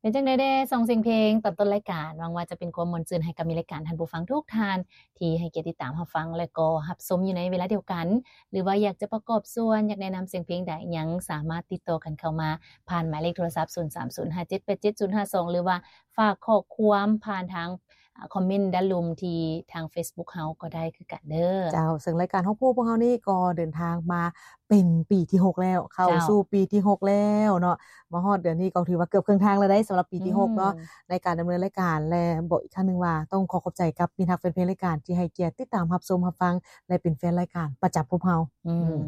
ເປັນຈັ່ງໃດແດ່ ສອງສຽງເພງຕອນຕົ້ນລາຍການ? ຫວັງວ່າຈະເປັນຄວາມມ່ວນຊື່ນໃຫ້ກັບມິດລາຍການທ່ານຜູ້ຟັງທຸກທ່ານ ທີ່ໃຫ້ກຽດຕິດຕາມຮັບຟັງ ແລະ ກໍຮັບຊົມຢູ່ໃນເວລາດຽວກັນ ຫຼືວ່າຢາກຈະປະກອບສ່ວນ ຢາກແນະນຳສຽງເພງໃດ ຍັງສາມາດຕິດຕໍ່ກັນເຂົ້າມາຜ່ານໝາຍເລກໂທລະສັບ ສູນສາມສູນຫ້າເຈັດແປດເຈັດສູນຫ້າສອງ ຫຼືວ່າຝາກຂໍ້ຄວາມຜ່ານທາງ ອ່າ ຄອມເມັນດ້ານລຸ່ມທີ່ທາງເຟສບຸກເຮົາກໍໄດ້ຄືກັນເດີ. ເຈົ້າ ເຊິ່ງລາຍການຮອບຮູ້ພວກເຮົານີ້ກໍເດີນທາງມາເປັນປີທີຫົກແລ້ວ ເຂົ້າ ເຈົ້າ ສູ່ປີທີຫົກແລ້ວເນາະ. ມາຮອດເດືອນນີ້ກໍຖືວ່າເກືອບເຄິ່ງທາງແລ້ວເດ້ ສຳລັບປີທີຫົກເນາະ ອືມ ໃນການດຳເນີນລາຍການ ແລະ ບອກອີກຄັ້ງໜຶ່ງວ່າຕ້ອງຂໍຂອບໃຈກັບມິດຮັກແຟນເພງລາຍການທີ່ໃຫ້ກຽດຕິດຕາມຮັບຊົມຮັບຟັງ ແລະ ເປັນແຟນລາຍການປະຈຳພວກເຮົາ. ອືມ ອືມ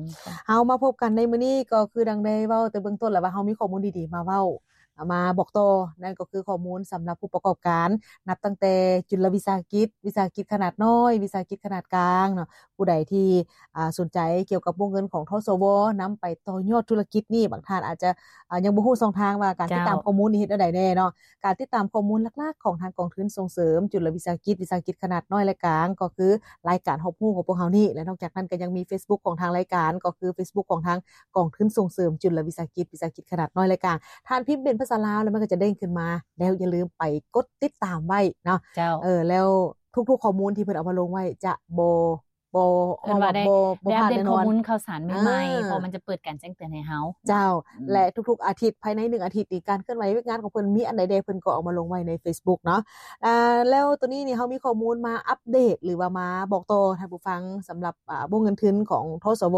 ເຮົາມາພົບກັນໃນມື້ນີ້ກໍຄືດັ່ງໄດ້ເວົ້າແຕ່ເບື້ອງຕົ້ນແລ້ວວ່າ ເຮົາມີຂໍ້ມູນດີໆມາເວົ້າ ມາບອກຕໍ່ ນັ້ນກໍຄືຂໍ້ມູນສຳລັບຜູ້ປະກອບການ ນັບຕັ້ງແຕ່ຈຸລະວິສາຫະກິດ, ວິສາຫະກິດຂະໜາດນ້ອຍ, ວິສາຫະກິດຂະໜາດກາງເນາະ. ຜູ້ໃດທີ່ ອ່າ ສົນໃຈກ່ຽວກັບວົງເງິນຂອງ ທສວ ນຳໄປຕໍ່ຍອດທຸລະກິດນີ້ ບາງທ່ານອາດຈະ ອ່າ ຍັງບໍ່ຮູ້ຊ່ອງທາງວ່າການ ເຈົ້າ ຕິດຕາມຂໍ້ມູນນີ້ເຮັດແນວໃດແດ່ເນາະ. ການຕິດຕາມຂໍ້ມູນຫຼັກໆຂອງທາງກອງທຶນສົ່ງເສີມຈຸລະວິສາຫະກິດ, ວິສາຫະກິດຂະໜາດນ້ອຍ ແລະ ກາງ ກໍຄືລາຍການຮອບຮູ້ຂອງພວກເຮົານີ້ ແລະ ນອກຈາກນັ້ນກໍຍັງມີເຟສບຸກຂອງທາງລາຍການ ກໍຄືເຟສບຸກຂອງທາງກອງທຶນສົ່ງເສີມຈຸລະວິສາຫະກິດ, ວິສາຫະກິດຂະໜາດນ້ອຍ ແລະ ກາງ. ທ່ານພິມເປັນພາສາລາວ ແລ້ວມັນກໍຈະເດ້ງຂຶ້ນມາ ແລ້ວຢ່າລືມໄປກົດຕິດຕາມໄວ້ເນາະ. ເຈົ້າ ເອີ ແລ້ວທຸກໆຂໍ້ມູນທີ່ເພິ່ນເອົາມາລົງໄວ້ຈະບໍ່ ບໍ່ ເອີ້ນວ່າໄດ້ ບໍ່ ບໍ່ ໄດ້ອັບເດດຂໍ້ມູນຂ່າວສານໃໝ່ໆ ອ່າ ເພາະມັນຈະເປີດການແຈ້ງເຕືອນໃຫ້ເຮົາ. ເຈົ້າ ອືມ ແລະ ທຸກໆອາທິດ ພາຍໃນໜຶ່ງອາທິດນີ້ ການເຄື່ອນໄຫວວຽກງານຂອງເພິ່ນມີອັນໃດແດ່ ເພິ່ນກໍເອົາມາລົງໄວ້ໃນເຟສບຸກເນາະ. ອ່າ ແລ້ວໂຕນີ້ນີ້ ເຮົາມີຂໍ້ມູນມາອັບເດດ ຫຼືວ່າມາບອກຕໍ່ທ່ານຜູ້ຟັງ ສຳລັບ ອ່າ ວົງເງິນທຶນຂອງ ທສວ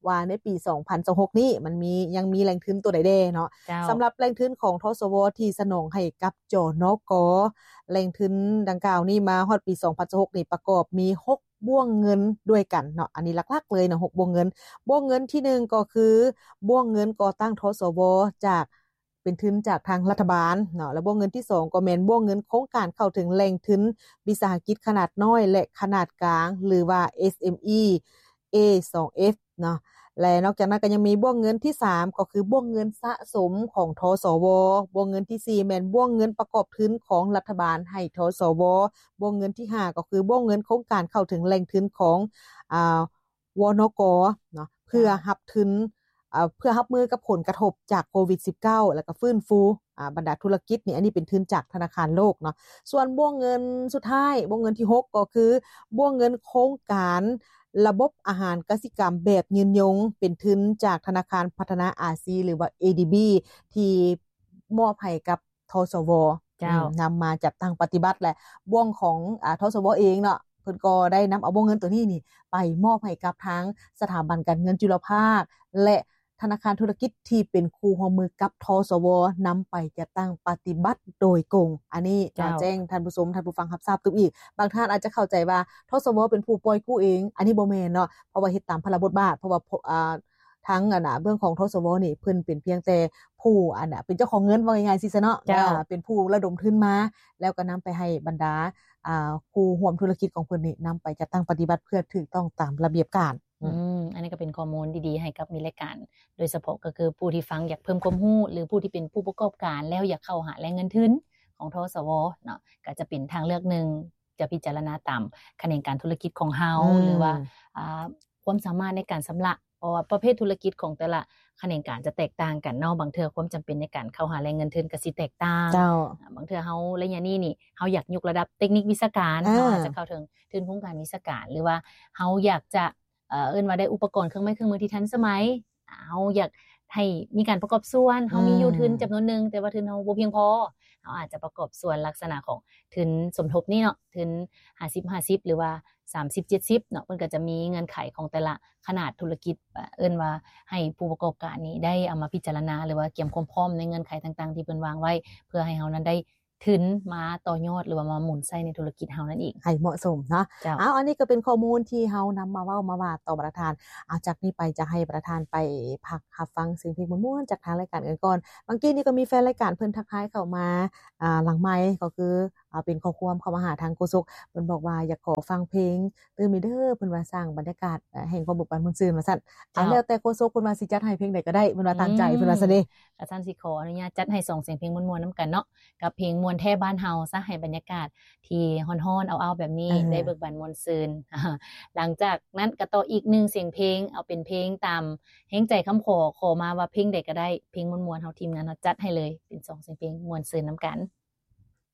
ວ່າໃນປີສອງພັນຊາວຫົກນີ້ ມັນມີ ຍັງມີແຫຼ່ງທຶນໂຕໃດແດ່ເນາະ. ເຈົ້າ ສຳລັບແຫຼ່ງທຶນຂອງ ທສວ ທີ່ສະໜອງໃຫ້ກັບ ຈນກ. ແຫຼ່ງທຶນດັ່ງກ່າວນີ້ ມາຮອດປີສອງພັນຊາວຫົກນີ້ ປະກອບມີຫົກບ່ວງເງິນດ້ວຍກັນເນາະ. ອັນນີ້ຫຼັກໆເລີຍເນາະ ຫົກບ່ວງເງິນ. ບ່ວງເງິນທີໜຶ່ງກໍຄືບ່ວງເງິນກໍ່ຕັ້ງ ທສວ ຈາກ ເປັນທຶນຈາກທາງລັດຖະບານເນາະ ແລະ ບ່ວງເງິນທີສອງກໍແມ່ນບ່ວງເງິນໂຄງການເຂົ້າເຖິງແຫຼ່ງທຶນວິສາຫະກິດຂະໜາດນ້ອຍ ແລະ ຂະໜາດກາງ ຫຼືວ່າ ເອສເອັມອີ ເອສອງເອັຟ ເນາະ ແລະ ນອກຈາກນັ້ນກໍຍັງມີບ່ວງເງິນທີສາມ ກໍຄືບ່ວງເງິນສະສົມຂອງ ທສວ, ບ່ວງເງິນທີສີ່ ແມ່ນບ່ວງເງິນປະກອບທຶນຂອງລັດຖະບານໃຫ້ ທສວ, ບ່ວງເງິນທີຫ້າ ກໍຄືບ່ວງເງິນໂຄງການເຂົ້າເຖິງແຫຼ່ງທຶນຂອງ ອາ ວນກ ເນາະ ເພື່ອ ເຈົ້າ ຮັບທຶນ ເພື່ອຮັບມືກັບຜົນກະທົບຈາກໂຄວິດສິບເກົ້າ ແລ້ວກໍຟື້ນຟູ ອາ ບັນດາທຸລະກິດນີ້ ອັນນີ້ເປັນທຶນຈາກທະນາຄານໂລກເນາະ. ສ່ວນບ່ວງເງິນສຸດທ້າຍ ບ່ວງເງິນທີຫົກ ກໍຄືບ່ວງເງິນໂຄງການລະບົບອາຫານກະສິກຳແບບຍືນຍົງ ເປັນທຶນຈາກທະນາຄານພັດທະນາອາຊີ ຫຼືວ່າ ເອດີບີ ທີ່ມອບໃຫ້ກັບ ທສວ ເຈົ້າ ອືມ ນຳມາຈັດຕັ້ງປະຕິບັດ ແລະ ບ່ວງຂອງ ອາ ທສວ ເອງເນາະ ເພິ່ນກໍໄດ້ນຳເອົາວົງເງິນໂຕນີ້ນີ້ ໄປມອບໃຫ້ກັບທາງສະຖາບັນການເງິນຈຸລະພາກ ແລະ ທະນາຄານທຸລະກິດທີ່ເປັນຄູ່ຮ່ວມມືກັບ ທສວ ນຳໄປຈັດຕັ້ງປະຕິບັດໂດຍກົງ. ອັນນີ້ ເຈົ້າ ແຈ້ງທ່ານຜູ້ຊົມ ທ່ານຜູ້ຟັງຮັບຊາບຕື່ມອີກ. ບາງທ່ານອາດຈະເຂົ້າໃຈວ່າ ທສວ ເປັນຜູ້ປ່ອຍກູ້ເອງ, ອັນນີ້ບໍ່ແມ່ນເນາະ ເພາະວ່າເຮັດຕາມພາລະບົດບາດ, ເພາະວ່າ ອາ ທາງ ອັນນະ ເບື້ອງຂອງ ທສວ ນີ້ ເພິ່ນເປັນພຽງແຕ່ຜູ້ ອັນນະ ເປັນເຈົ້າຂອງເງິນ ເວົ້າງ່າຍໆຊິຊະເນາະ, ເຈົ້າ ເອີ ເປັນຜູ້ລະດົມທຶນມາ ແລ້ວກໍນຳໄປໃຫ້ບັນດາ ອ່າ ຄູ່ຮ່ວມທຸລະກິດຂອງເພິ່ນນີ້ ນຳໄປຈັດຕັ້ງປະຕິບັດເພື່ອຖືກຕ້ອງຕາມລະບຽບການ. ອືມ ອືມ ອັນນີ້ກໍເປັນຂໍ້ມູນດີໆໃຫ້ກັບມິດລາຍການ ໂດຍສະເພາະກໍຄືຜູ້ທີ່ຟັງຢາກເພີ່ມຄວາມຮູ້ ຫຼື ຜູ້ທີ່ເປັນຜູ້ປະກອບການແລ້ວຢາກເຂົ້າຫາແຫຼ່ງເງິນທຶນຂອງ ທສວ ເນາະ ກໍຈະເປັນທາງເລືອກໜຶ່ງ ຈະພິຈາລະນາຕາມຂະແໜງການທຸລະກິດຂອງເຮົາ ອືມ ຫຼືວ່າ ອ່າ ຄວາມສາມາດໃນການຊຳລະ ເພາະວ່າປະເພດທຸລະກິດຂອງແຕ່ລະຂະແໜງການຈະແຕກຕ່າງກັນເນາະ, ບາງເທື່ອຄວາມຈຳເປັນໃນການເຂົ້າຫາແຫຼ່ງເງິນທຶນກໍຊິແຕກຕ່າງ. ເຈົ້າ. ບາງເທື່ອເຮົາໄລຍະນີ້ນີ້ ເຮົາຢາກຍົກລະດັບເຕັກນິກວິຊາການ, ເອີ ເຮົາອາດຈະເຂົ້າເຖິງທຶນໂຄງການວິຊາການ ຫຼືວ່າເຮົາຢາກຈະ ເອີ ເອີ້ນວ່າໄດ້ອຸປະກອນເຄື່ອງໄມ້ເຄື່ອງມືທີ່ທັນສະໄໝ, ເຮົາຢາກໃຫ້ມີການປະກອບສ່ວນ, ເຮົາມີຢູ່ ອືມ ທຶນຈຳນວນໜຶ່ງ ແຕ່ວ່າທຶນເຮົາບໍ່ພຽງພໍ, ເຮົາອາດຈະປະກອບສ່ວນລັກສະນະຂອງທຶນສົມທົບນີ້ເນາະ, ທຶນຫ້າສິບຫ້າສິບ ຫຼືວ່າສາມສິບເຈັດສິບເນາະ, ເພິ່ນກໍຈະມີເງື່ອນໄຂຂອງແຕ່ລະຂະໜາດທຸລະກິດ, ເອີ້ນວ່າໃຫ້ຜູ້ປະກອບການນີ້ໄດ້ເອົາມາພິຈາລະນາ ຫຼືວ່າກຽມຄວາມພ້ອມໃນເງື່ອນໄຂຕ່າງໆທີ່ເພິ່ນວາງໄວ້ ເພື່ອໃຫ້ເຮົານັ້ນໄດ້ທຶນມາຕໍ່ຍອດ ຫຼືວ່າມາໝູນໃຊ້ໃນທຸລະກິດເຮົານັ້ນເອງ ໃຫ້ເໝາະສົມເນາະ. ເຈົ້າ. ເອົາ ອັນນີ້ກໍເປັນຂໍ້ມູນທີ່ເຮົານຳມາເວົ້າມາວ່າຕໍ່ບັນດາທ່ານ. ເອົາ ຈາກນີ້ໄປຈະໃຫ້ບັນດາທ່ານໄປພັກຮັບຟັງສຽງເພງມ່ວນໆຈາກທາງລາຍການກັນກ່ອນ. ບາງກີ້ນີ້ກໍມີແຟນລາຍການເພິ່ນທັກທາຍເຂົ້າມາ ອ່າ ຫຼັງໄມ ກໍຄື ເປັນຂໍ້ຄວາມເຂົ້າມາຫາທາງໂຄສົກ ເພິ່ນບອກວ່າຢາກຂໍຟັງເພງຕື່ມອີກເດີ ເພິ່ນວ່າສ້າງບັນຍາກາດແຫ່ງຄວາມເບີກບານມ່ວນຊື່ນວ່າຊັ້ນ. ເອົາ ເຈົ້າ ແລ້ວແຕ່ໂຄສົກເພິ່ນວ່າຊິຈັດໃຫ້ເພງໃດກໍໄດ້ ເພິ່ນວ່າຕາມໃຈ ອືມ ເພິ່ນວ່າຊັ້ນເດ້. ກະຊັ້ນຊິຂໍອະນຸຍາດຈັດໃຫ້ສອງສຽງເພງມ່ວນໆນຳກັນເນາະ ກັບເພງມ່ວນແທ້ບ້ານເຮົາຊະ ໃຫ້ບັນຍາກາດທີ່ຮ້ອນໆ ອ້າວໆ ແບບນີ້ ເອີ ໄດ້ເບີກບານມ່ວນຊື່ນ. ຫຼັງຈາກນັ້ນກະຕໍ່ອີກໜຶ່ງສຽງເພງ ເອົາເປັນເພງຕາມແຮງໃຈຄຳຂໍ ຂໍມາວ່າເພງໃດກໍໄດ້ ເພງມ່ວນໆ ເຮົາ ທີມງານເຮົາຈັດໃຫ້ເລີຍ ເປັນສອງສຽງເພງມ່ວນຊື່ນນຳກັນ.